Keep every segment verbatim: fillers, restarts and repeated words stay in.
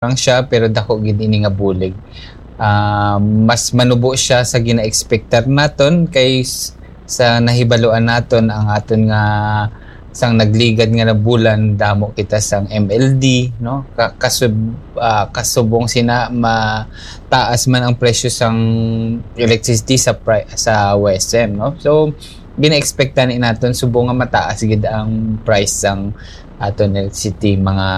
lang siya, pero dako gid ini nga bulig. Ah, mas manubo siya sa gina-expectar naton kay s-, sa nahibaluan naton ang aton nga sang nagligad nga na bulan, damo kita sang M L D, no? Ka-, kasub-, ah, kasubong sina, mataas man ang presyo sang electricity sa pri-, sa W E S M, no? So, gina-expect ni naton subong nga mataas gid ang price sang aton electricity, mga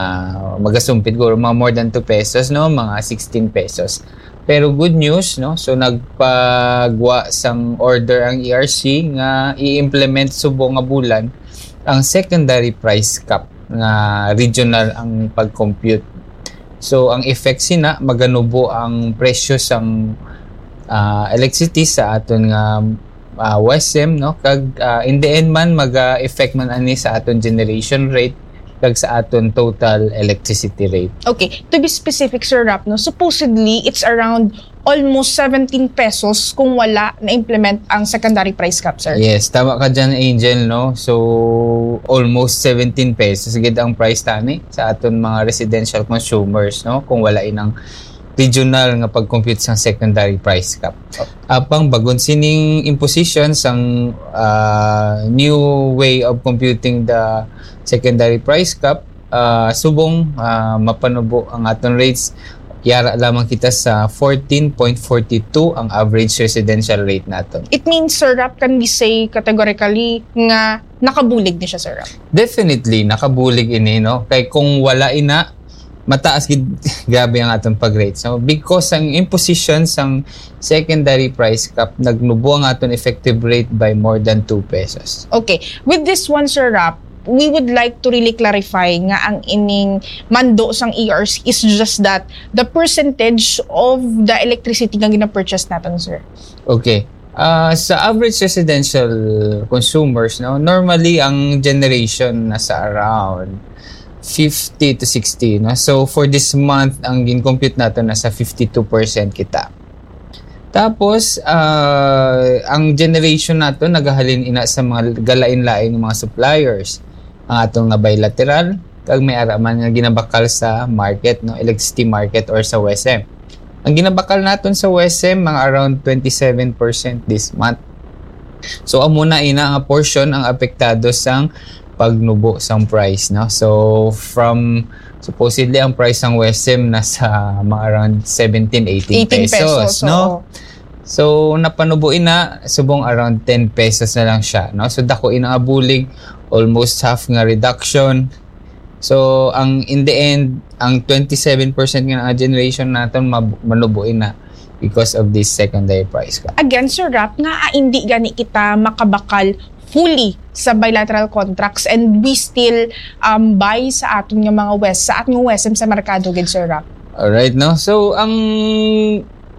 magasumpit guro, mga more than two pesos, no? Mga sixteen pesos. Pero good news, no? So, nagpagwa sang order ang E R C nga i-implement subong nga bulan ang secondary price cap nga regional ang pag-compute. So, ang effect sina, maganubo ang presyo sang, ah, electricity sa aton nga, ah, W E S M, no? Kag, ah, in the end man, maga-effect man ani sa aton generation rate kag sa aton total electricity rate. Okay, to be specific, Sir Rap, no, supposedly, it's around almost seventeen pesos kung wala na-implement ang secondary price cap, sir. Yes, tama ka dyan, Angel, no? So, almost seventeen pesos gid ang price tani sa aton mga residential consumers, no? Kung wala inang regional nga pag-compute sang secondary price cap. Apang bagon sining imposition sang, ah, new way of computing the secondary price cap, ah, subong, ah, mapanubo ang aton rates, yara lamang kita sa fourteen point forty two ang average residential rate naton. It means, Sir Rap, can we say categorically nga nakabulig ni siya, Sir Rap? Definitely, nakabulig ini, no? Kay kung wala ina, mataas gid, grabe ang aton pag-rate. So, because ang imposition sang secondary price cap, nagnubo ang aton effective rate by more than two pesos. Okay. With this one, Sir Rap, we would like to really clarify nga ang ining mando sang E R C is just that the percentage of the electricity nga gina-purchase natin, sir. Okay. Ah, sa average residential consumers, no, normally ang generation nasa around fifty to sixty, no? So, for this month, ang gin-compute nato nasa fifty-two percent kita. Tapos, ah, ang generation nato nagahalin ina sa mga galain-lain nga mga suppliers. Ang aton nga bilateral, kag may ara man nga ginabakal sa market, no, electricity market or sa W E S M. Ang ginabakal naton sa W E S M, mga around twenty-seven percent this month. So, amo na ina nga portion ang apektado sang pagnubo sang price, no? So, from, supposedly, ang price sang W E S M nasa mga around seventeen, eighteen pesos, no? Oo. So, napanubo ina, subong around ten pesos na lang siya, no? So, dako ina nga bulig, almost half nga reduction. So, ang, in the end, ang twenty-seven percent nga generation naton mab-, manubo ina because of this secondary price cap. Again, Sir Rap, nga, ah, hindi gani kita makabakal fully sa bilateral contracts and we still, um, buy sa aton nga mga W E S, sa aton nga W E S M sa merkado gid, Sir Rap? Alright, no? So, ang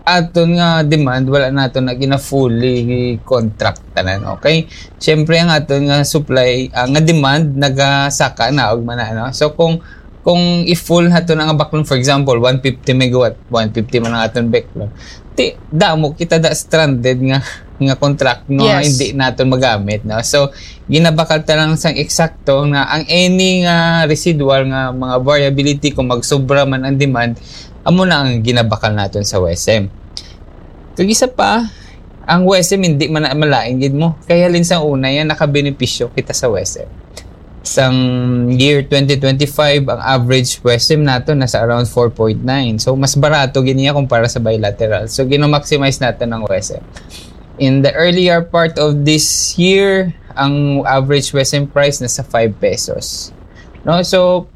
aton nga demand, wala naton na gina-fully contract tanan, okay? Siyempre, ang aton nga supply, ah, nga demand, nagasaka na og mana, no? So, kung, kung i-full nato na nga baklon, for example, one fifty megawatt, one fifty man ang aton baklon, ti, damo kita da stranded nga, nga contract, no, nga Yes. hindi naton magamit, no? So, ginabakal ta lang sang eksakto nga ang any nga residual nga mga variability, kung magsobra man ang demand, amo na ang ginabakal naton sa W E S M. Kag isa pa, ang W E S M hindi man na malain gid mo. Kay halin sang una yan, nakabenepisyo kita sa W E S M. Sang year twenty twenty-five, ang average W E S M nato nasa around four point nine. So, mas barato gid niya kumpara sa bilateral. So, gina-maximize nato ang W E S M. In the earlier part of this year, ang average W E S M price nasa five pesos. No? So,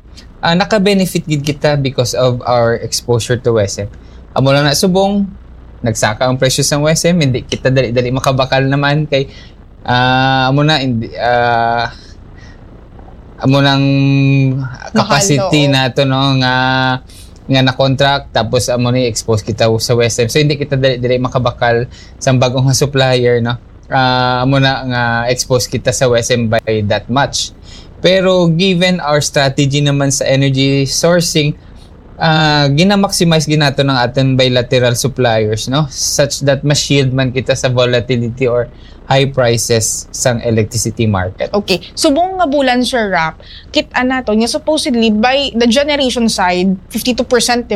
ah, naka-benefit gid kita because of our exposure to W E S M. Amo lang na subong, nagsaka ang presyo sang W E S M, hindi kita dali-dali makabakal naman kay, ah, amo na, hindi, ah, amo nang Mahal, capacity oo. nato, no, nga, nga na-contract, tapos amo ni expose kita sa W E S M. So, hindi kita dali-dali makabakal sa bagong nga supplier, no? Ah, amo na nga expose kita sa W E S M by that much. Pero given our strategy naman sa energy sourcing, ah, gina-maximize gid nato ng aton bilateral suppliers, no, such that ma-shield man kita sa volatility or high prices sang electricity market. Okay. Subong nga bulan, Sir Rap, kita nato nga supposedly by the generation side, fifty-two percent, di ba?